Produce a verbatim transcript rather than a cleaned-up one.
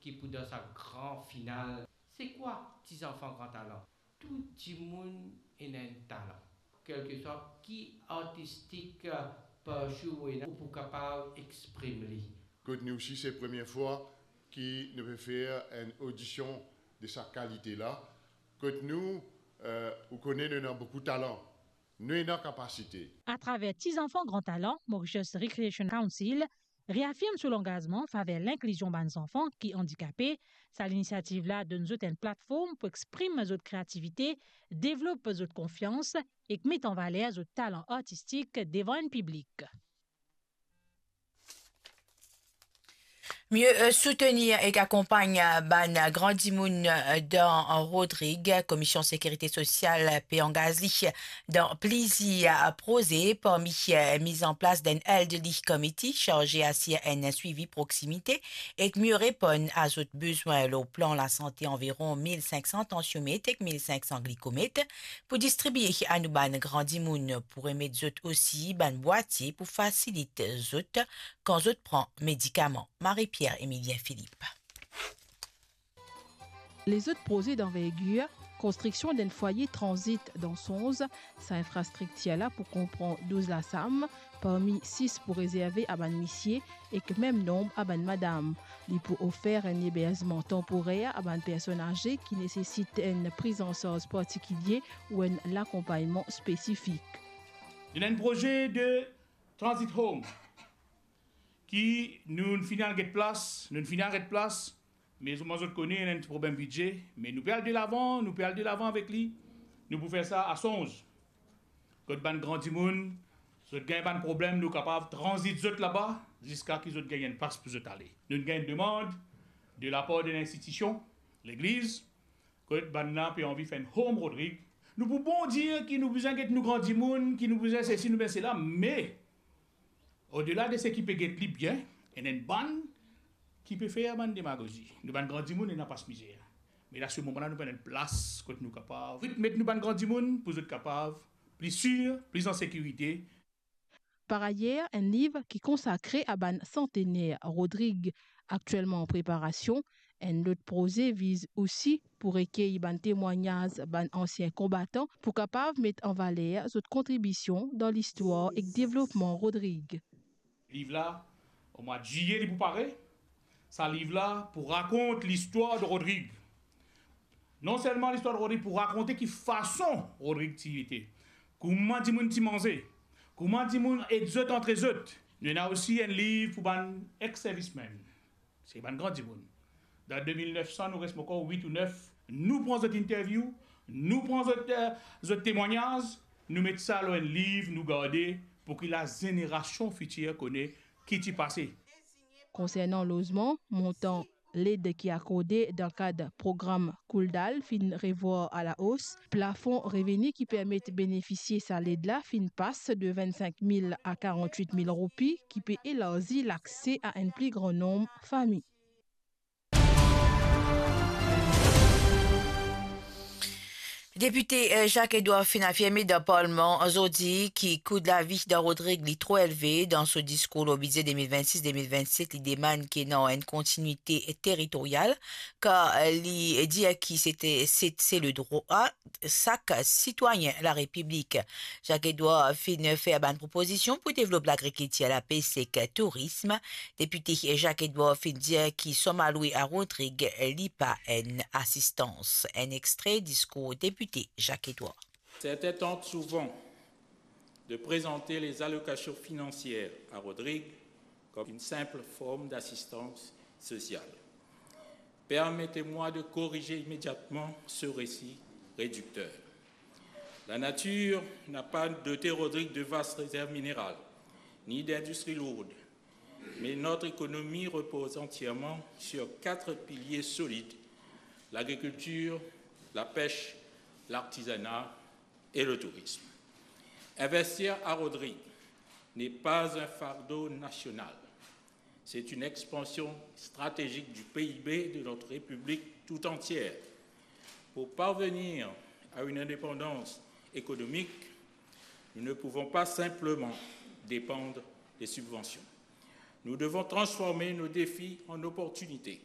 Ki pou dan sa gran final. Se kwa Ti Zanfan Gran Talan? Tou dimoun ena enn talan. Kelseswa ki artistik, eh, parti ou ena, ou pou kapav exprim li. Kot nou osi, se premie fwa ki nou pe fer enn odision de sa kalite la. Kot nou, eh, ou kone nou ena boukou talan. Nou ena kapasite. Atraver Ti Zanfan Gran Talan, Mauritius Recreation Council reafirm so langazman faver linklizion bann zanfan ki andikape. Sa linisiativ la donn zot enn platform pou exprim zot kreativite, devlop zot konfians ek met an valer zot talan artistik devan enn piblik. Mieux, euh, soutenir ek akonpagn, euh, bann, euh, gran dimoun, euh, dan Rodrig, Komision Sekirite Sosial pe angaz li dan plizier, euh, proze, parmi, euh, miz an plas d'enn Elderly Committee sarze asir enn swivi proksimite ek mieux reponn a zot bezwin lor plan lasante, anviron mil sink san tansiomet ek mil sink san glikomet pou distribie a nou bann gran dimoun, pou remet zot osi bann bwatie pou fasilit zot kan zot pran medikaman. Marie-Pierre Emilien Philippe. Lezot proze danvergir, konstriksion d'enn fwaye tranzit dan Sonz, sa infrastriktir la pou konpran douz lasam, parmi sis pou rezerve a bann misie ek mem nonb a bann madam. Li pou ofer enn eberzman tanporer a bann personn aze ki nesesit enn prizansarz partikilie ou enn lakonpagnman spesifik. Nou ena enn proze de transit home ki nou finn al get plas, nou finn al get plas, me zot, mwa zot kone, ena enn ti problem bidze, me nou pe al delavan, nou pe al delavan avek li. Nou pou fer sa a Sonz. Kot bann gran dimoun, zot gagn bann problem, nou kapav tranzit zot laba, ziska ki zot gagn enn plas pou zot ale. Nou gagn enn demann de lapar de linstitision, legliz, kot bann la pe anvi fer enn home Rodrig. Nou pou bon dir ki nou bizin get nou gran dimoun, ki nou bizin sesi, nou bizin sela, me odela de seki pe get li bien, ena enn bann ki pe fer bann demagozi. Nou bann gran dimoun ena pas mizer. Me la, se moman la, nou pena enn plas kot nou kapav met nou bann gran dimoun pou zot kapav pli sir, pli an sekirite. Par ayer, enn liv ki konsakre a bann santener Rodrig aktielman an preparasion. Enn lot proze viz osi pou rekey bann temwagnaz bann ansien konbatan pou kapav met an valer zot kontribision dan listwar ek devlopman Rodrig. Liv la, omwa ziye, li pou pare. Sa liv la pou rakont listwar de Rodrig. Non selman listwar de Rodrig, pou rakonte ki fason Rodrig ti ete, kouma dimoun ti manze, kouma dimoun ed zot antre zot. Nou ena osi enn liv pou bann ex-servicemen, se bann gran dimoun. Dan de mil nef san, nou res ankor wit ou nef. Nou pran zot interview, nou pran zot, eh, zot temwagnaz, nou met sa lor enn liv, nou garde pou ki lazenerasyon fitir kone ki ti pase. Konsernan lozman, montan led ki akorde dan kad program Kouldal finn revwar alaos. Plafon reveni ki permet benefisie sa led la finn pas de vinn-sink mil a karant-wit mil roupi, ki pe elarzi lakse a enn pli gran nonb fami. Depite, eh, Jacques Edouard finn afirme dan Parlman zordi ki kou lavi dan Rodrig li tro elve. Dan so diskour lor bidze de mil vennsis de mil vennset, li demann ki ena enn kontinite teritoryal, kar, eh, li dir ki se, se, se le drwa sak sitwayin Larepiblik. Jacques Edouard finn fer bann propozision pou devlop lagrikiltir, lapes ek tourism. Depite Jacques Edouard finn dir ki som alwe a Rodrig li pa enn asistans. Enn extre diskour depite Jacques Edouard. Certains tentent souvent de présenter les allocations financières à Rodrigue comme une simple forme d'assistance sociale. Permettez-moi de corriger immédiatement ce récit réducteur. La nature n'a pas doté Rodrigue de vastes réserves minérales, ni d'industries lourdes, mais notre économie repose entièrement sur quatre piliers solides, l'agriculture, la pêche, l'artisanat et le tourisme. Investir à Rodrigue n'est pas un fardeau national. C'est une expansion stratégique du P I B de notre République tout entière. Pour parvenir à une indépendance économique, nous ne pouvons pas simplement dépendre des subventions. Nous devons transformer nos défis en opportunités.